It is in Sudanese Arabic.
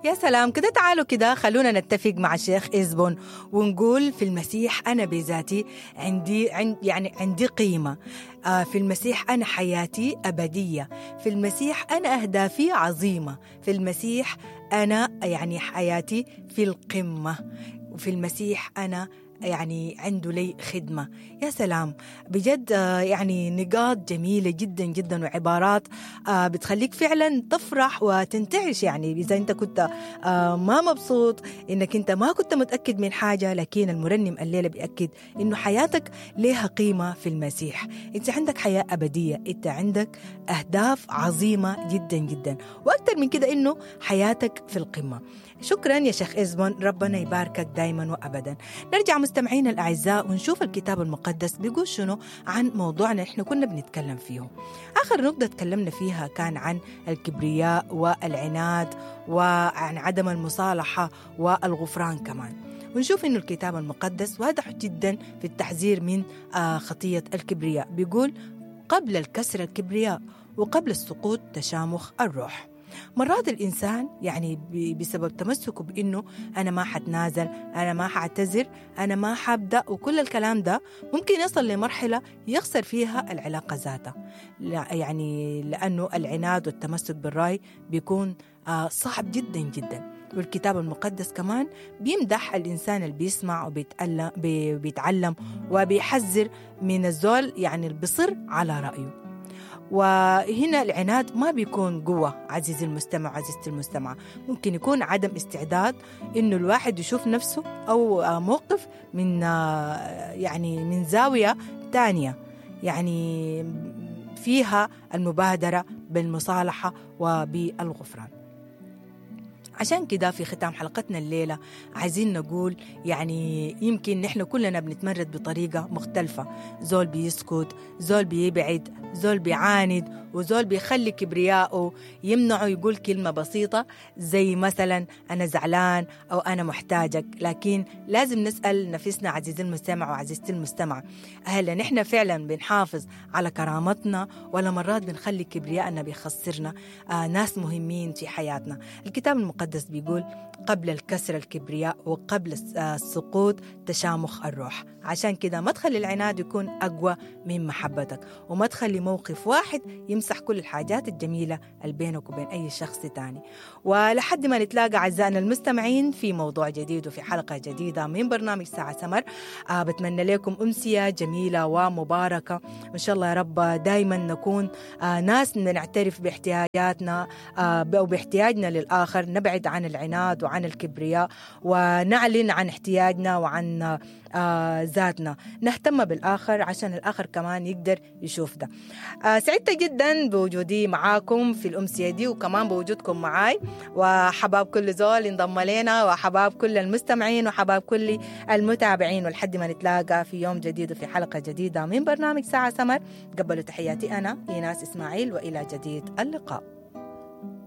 يا سلام كده، تعالوا كده خلونا نتفق مع الشيخ إزبون ونقول في المسيح أنا بذاتي عندي يعني عندي قيمة، في المسيح أنا حياتي أبدية، في المسيح أنا أهدافي عظيمة، في المسيح أنا يعني حياتي في القمة، وفي المسيح أنا يعني عنده لي خدمة. يا سلام بجد، يعني نقاط جميلة جدا جدا وعبارات بتخليك فعلا تفرح وتنتعش. يعني إذا أنت كنت ما مبسوط، إنك أنت ما كنت متأكد من حاجة، لكن المرنم الليلة بيأكد إنه حياتك لها قيمة في المسيح. أنت عندك حياة أبدية، أنت عندك أهداف عظيمة جدا جدا، وأكثر من كده إنه حياتك في القمة. شكرا يا شيخ إزبون، ربنا يباركك دايما وأبدا. نرجع مستمعينا الأعزاء ونشوف الكتاب المقدس بيقول شنو عن موضوعنا احنا كنا بنتكلم فيه. آخر نقطة تكلمنا فيها كان عن الكبرياء والعناد وعن عدم المصالحة والغفران كمان. ونشوف إنه الكتاب المقدس واضح جدا في التحذير من خطية الكبرياء. بيقول قبل الكسر الكبرياء، وقبل السقوط تشامخ الروح. مرات الإنسان يعني بسبب تمسكه بإنه أنا ما حتنازل، أنا ما حاعتذر، أنا ما حبدأ، وكل الكلام ده ممكن يصل لمرحلة يخسر فيها العلاقة ذاتها. يعني لأنه العناد والتمسك بالرأي بيكون صعب جدا جدا. والكتاب المقدس كمان بيمدح الإنسان اللي بيسمع وبيتعلم وبيحذر من الزول يعني اللي بيصر على رأيه. وهنا العناد ما بيكون قوة عزيزي المستمع عزيزتي المستمعة، ممكن يكون عدم استعداد إنه الواحد يشوف نفسه أو موقف من يعني من زاوية تانية، يعني فيها المبادرة بالمصالحة وبالغفران. عشان كده في ختام حلقتنا الليلة عايزين نقول يعني يمكن نحن كلنا بنتمرد بطريقة مختلفة، زول بيسكت، زول بيبعد، زول بيعاند، وزول بيخلي كبرياءه يمنعه يقول كلمة بسيطة زي مثلا أنا زعلان أو أنا محتاجك. لكن لازم نسأل نفسنا عزيزي المستمع وعزيزتي المستمع، هل نحن فعلا بنحافظ على كرامتنا ولا مرات بنخلي كبرياءنا بيخسرنا ناس مهمين في حياتنا؟ الكتاب المقدس بيقول قبل الكسر الكبرياء وقبل السقوط تشامخ الروح. عشان كده ما تخلي العناد يكون أقوى من محبتك، وما تخلي موقف واحد يمسح كل الحاجات الجميلة اللي بينك وبين أي شخص تاني. ولحد ما نتلاقى أعزائنا المستمعين في موضوع جديد وفي حلقة جديدة من برنامج ساعة سمر، بتمنى لكم أمسية جميلة ومباركة، وإن شاء الله يا رب دايما نكون ناس نعترف باحتياجاتنا أو باحتياجنا للآخر، نبعد عن العناد وعن الكبرياء، ونعلن عن احتياجنا وعن ذاتنا، نهتم بالآخر عشان الآخر كمان يقدر يشوف ده. سعدت جدا بوجودي معاكم في الأمسية دي، وكمان بوجودكم معاي، وحباب كل زول انضم لنا، وحباب كل المستمعين، وحباب كل المتابعين. ولحد ما نتلاقى في يوم جديد وفي حلقة جديدة من برنامج ساعة سمر، قبلوا تحياتي أنا إيناس إسماعيل، وإلى جديد اللقاء.